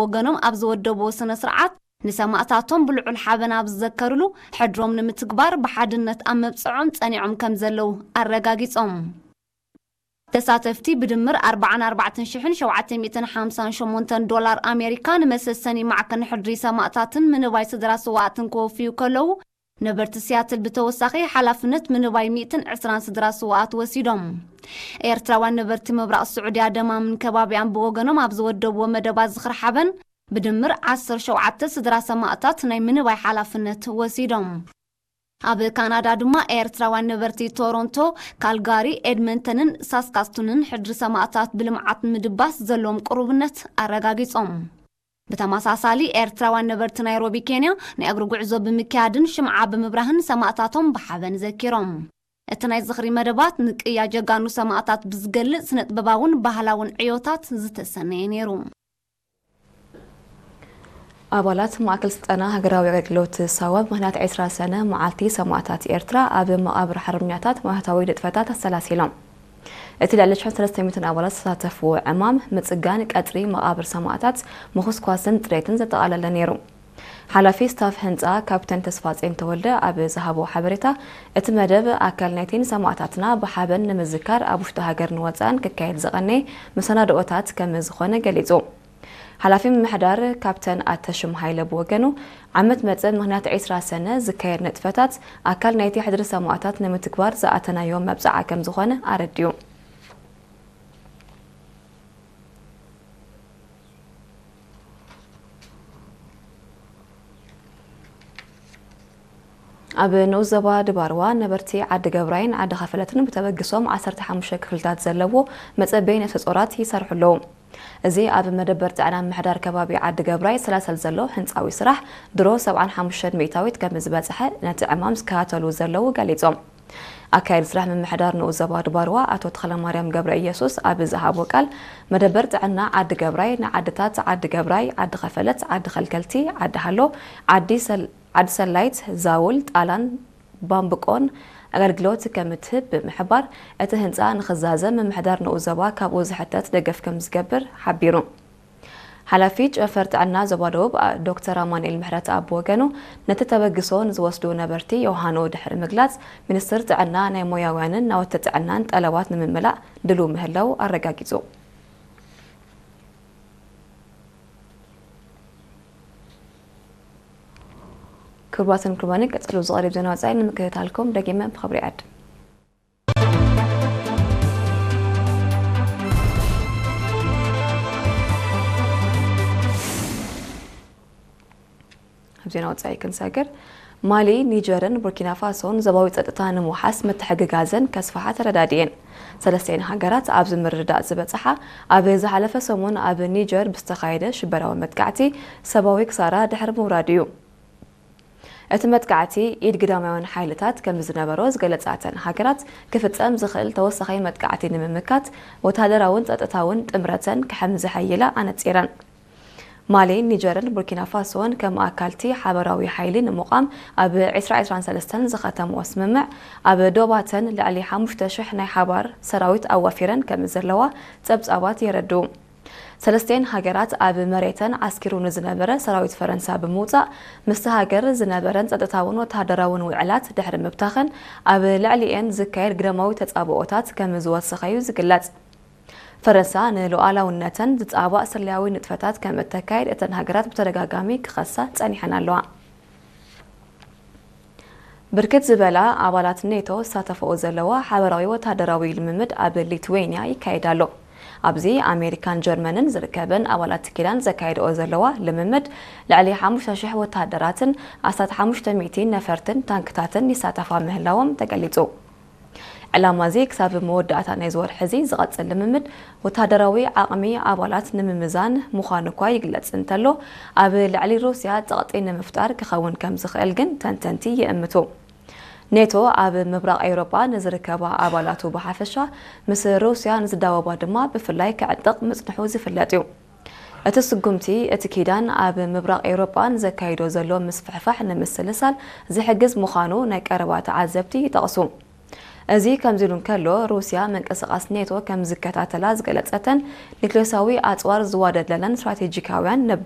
ወገኖም ኣብ ዝወደብዎ ስነ ስርዓት፣ ንሰማእታቶም ብልዑል ሓበን ኣብ ዝዘከርሉ፣ ሕድሮም ንምትግባር ብሓድነት ኣብ መብጽዖም ጸኒዖም ከም ዘለዉ ኣረጋጊጾም። ተሳተፍቲ ብድምር ኣርባዓን ኣርባዕተን ሽሕን ሸውዓተ ሚእትን ሓምሳን ሸሞንተን ዶላር ኣሜሪካ ንመሰሰኒ ማዕከን ሕድሪ ሰማእታትን ምንባይ ስድራ ስውኣትን ክወፍዩ ከለዉ፣ ነበርቲ ሲያትል ብተወሳኺ ሓላፍነት ምንባይ ሚእትን ዕስራን ስድራ ስውኣት ወሲዶም። ኤርትራውያን ነበርቲ ምብራቕ ስዑድያ ደማምን ከባቢኣን ብወገኖም ኣብ ዝወደብዎ መደባት ዝኽሪ ሓበን፣ ብድምር ዓሰርተ ሸውዓተ ስድራ ሰማእታት ናይ ምንባይ ሓላፍነት ወሲዶም። ኣብ ካናዳ ድማ ኤርትራውያን ነበርቲ ቶሮንቶ፣ ካልጋሪ፣ ኤድመንተንን ሳስካስቱንን ሕድሪ ሰማእታት ብልምዓት ምድባስ ዘለዎም ቅሩብነት ኣረጋጊጾም። ብተመሳሳሊ፣ ኤርትራውያን ነበርቲ ናይሮቢ ኬንያ፣ ናይ እግሪ ጉዕዞ ብምክያድን ሽምዓ ብምብራህን ሰማእታቶም ብሓበን ዘኪሮም። እቲ ናይ ዝኽሪ መደባት ንቅያ ጀጋኑ ሰማእታት ብዝገልጽ ስነ-ጥበባውን ባህላውን ዕዮታት ዝተሰነየ ነይሩ። ኣባላት ማእከል ስልጠና ሃገራዊ ኣገልግሎት ሳዋ ብምኽንያት ዕስራ ሰነ መዓልቲ ሰማእታት ኤርትራ ኣብ መቓብር ሓርበኛታት ማህታዊ ንጥፈታት ኣሰላሲሎም። እቲ ልዕሊ ሽሕን ሰለስተ ሚእትን ኣባላት ዝተሳተፍዎ ዕማም፣ ምጽጋን ቀጽሪ መቓብር ሰማእታት፣ ምኹስኳስን ጽሬትን ዘጠቓለለ ነይሩ። ሓላፊ ስታፍ ህንጻ ካፕተን ተስፋጼን ተወልደ ኣብ ዝሃቦ ሓበሬታ፣ እቲ መደብ ኣካል ናይቲ ንሰማእታትና ብሓበን ንምዝካር ኣብ ውሽጢ ሃገርን ወጻእን ክካየድ ዝቐነየ መሰናድኦታት ከም ዝኾነ ገሊጹ። ሓላፊ ምምሕዳር ካፕተን ኣተሽም ሃይለ ብወገኑ፣ ዓመት መጸ ምኽንያት ዕስራ ሰነ ዝካየድ ንጥፈታት ኣካል ናይቲ ሕድሪ ሰማእታት ንምትግባር ዝኣተናዮ መብጽዓ ከም ዝኾነ ኣረዲኡ። ኣብ ንኡስ ዞባ ድባርዋ ነበርቲ ዓዲ ገብራይን ዓዲ ኸፈለትን ብተበግሶም ዓሰርተ ሓሙሽተ ክፍልታት ዘለዎ መጸበዪ ነፍሰ ጾራት ይሰርሑ ኣለዉ። እዚ ኣብ መደበር ጥዕና ምምሕዳር ከባቢ ዓዲ ገብራይ ዝሰላሰል ዘሎ ህንጻዊ ስራሕ ድሮ ሰብዓን ሓሙሽተን ሚእታዊት ከም ዝበጽሐ ነቲ ዕማም ዝከታተሉ ዘለዉ ገሊጾም። ኣካያዲ ስራሕ ምምሕዳር ንኡስ ዞባ ድባርዋ ኣቶ ተኽለማርያም ገብረ ኢየሱስ ኣብ ዝሃቦ ቃል፣ መደበር ጥዕና ዓዲ ገብራይ ንዓድታት ዓዲ ገብራይ፣ ዓዲ ኸፈለት፣ ዓዲ ኸልከልቲ፣ ዓዲ ሃሎ፣ ዓዲ ሰል-፣ ዓዲ ሰላይት፣ ዛውል፣ ጣላን ባምብቆን ኣገልግሎት ከም እትህብ ብምሕባር፣ እቲ ህንጻ ንኽዛዘም ምምሕዳር ንኡስ ዞባ ካብኡ ዝሕተት ደገፍ ከም ዝገብር ሓቢሩ። ሓላፊ ጨንፈር ጥዕና ዞባ ደቡብ ዶክተር ኣማኑኤል ምሕረተኣብ ብወገኑ፣ ነቲ ተበግሶ ንዝወስዱ ነበርቲ ዮሃንኡ ድሕሪ ምግላጽ፣ ሚኒስትር ጥዕና ናይ ሞያውያንን ናውቲ ጥዕናን ጠለባት ንምምላእ ድሉው ምህላዉ ኣረጋጊጹ። ክቡራትን ክቡራንን፣ ቀጽሉ ዝቐርብ ዜና ወጻኢ ንምክትታልኩም ደጊመ ብኽብሪ ይዕድም። ኣብ ዜና ወጻኢ ክንሰግር፣ ማሊ፣ ኒጀርን ቡርኪና ፋሶን ዞባዊ ጸጥታ ንምውሓስ ምትሕግጋዘን ከስፍሓ ተረዳዲኤን። ሰለስቲኤን ሃገራት ኣብዚ ምርድዳእ ዝበጽሓ፣ ኣብ ዝሓለፈ ሰሙን ኣብ ኒጀር ብዝተኻየደ ሽበራዊ መጥቃዕቲ ሰብኣዊ ክሳራ ድሕሪ ምውራዱ እዩ። እቲ መጥቃዕቲ ኢድ ግዳማውያን ሓይልታት ከም ዝነበሮ ዝገለጻተን ሃገራት፣ ክፍጸም ዝኽእል ተወሳኺ መጥቃዕቲ ንምምካት ወተሃደራውን ጸጥታውን ጥምረተን ከም ዝሐይላ ኣነጺረን። ማሊን ኒጀርን ቡርኪና ፋሶን ከም ኣካልቲ ሓበራዊ ሓይሊ ንምቋም ኣብ ዕስራ ዕስራን ሰለስተን ዝኸተምኦ ስምምዕ፣ ኣብ ዶባተን ልዕሊ ሓሙሽተ ሽሕ ናይ ሓባር ሰራዊት ኣዋፊረን ከም ዘለዋ ጸብጻባት የረድኡ። ሰለስቴን ሃገራት ኣብ መሬተን ዓስኪሩ ንዝነበረ ሰራዊት ፈረንሳ ብምውጻእ፣ ምስቲ ሃገር ዝነበረን ጸጥታውን ወተሃደራውን ውዕላት ድሕሪ ምብታኸን፣ ኣብ ልዕሊኤን ዝካየድ ግዳማዊ ተጻብኦታት ከም ዝወሰኸ እዩ ዝግለጽ። ፈረንሳ ንሉዓላውነተን ዝጻባእ ስለያዊ ንጥፈታት ከም እተካይድ እተን ሃገራት ብተደጋጋሚ ክኸሳ ጸኒሐን ኣለዋ። ብርክት ዝበላ ኣባላት ኔቶ ዝሳተፈኦ ዘለዋ ሓበራዊ ወተሃደራዊ ልምምድ ኣብ ሊትዌንያ ይካየድ ኣሎ። ኣብዚ ኣሜሪካን ጀርመንን ዝርከበን ኣባላት ኪዳን ዘካየድኦ ዘለዋ ልምምድ፣ ልዕሊ ሓሙሽተ ሽሕ ወተሃደራትን ኣስታት ሓሙሽተ ሚእቲ ነፈርትን ታንክታትን ይሳተፋ ምህላዎም ተገሊጹ። ዕላማ እዚ ክሳብ መወዳእታ ናይዚ ወርሒ እዚ ዝቐጽል ልምምድ፣ ወተሃደራዊ ዓቕሚ ኣባላት ንምምዛን ምዃኑ እኳ ይግለጽ እንተሎ፣ ኣብ ልዕሊ ሩስያ ጸቕጢ ንምፍጣር ክኸውን ከም ዝኽእል ግን ተንተንቲ ይእምቱ። ኔቶ ኣብ ምብራቕ ኤውሮጳ ንዝርከባ ኣባላቱ ብሓፈሻ፣ ምስ ሩስያ ንዝዳወባ ድማ ብፍላይ ክዕጥቕ ምጽንሑ ዝፍለጥ እዩ። እቲ ስጉምቲ፣ እቲ ኪዳን ኣብ ምብራቕ ኤውሮጳ ንዘካይዶ ዘሎ ምስፍሕፋሕ ንምስልሳል ዝሕግዝ ምዃኑ ናይ ቀረባ ተዓዘብቲ ይጠቕሱ። እዚ ከምዚ ኢሉ እንከሎ፣ ሩስያ ምንቅስቓስ ኔቶ ከም ዝከታተላ ዝገለጸተን ኒክሌሳዊ ኣጽዋር ዝዋደድለለን ስትራቴጂካውያን ነብደ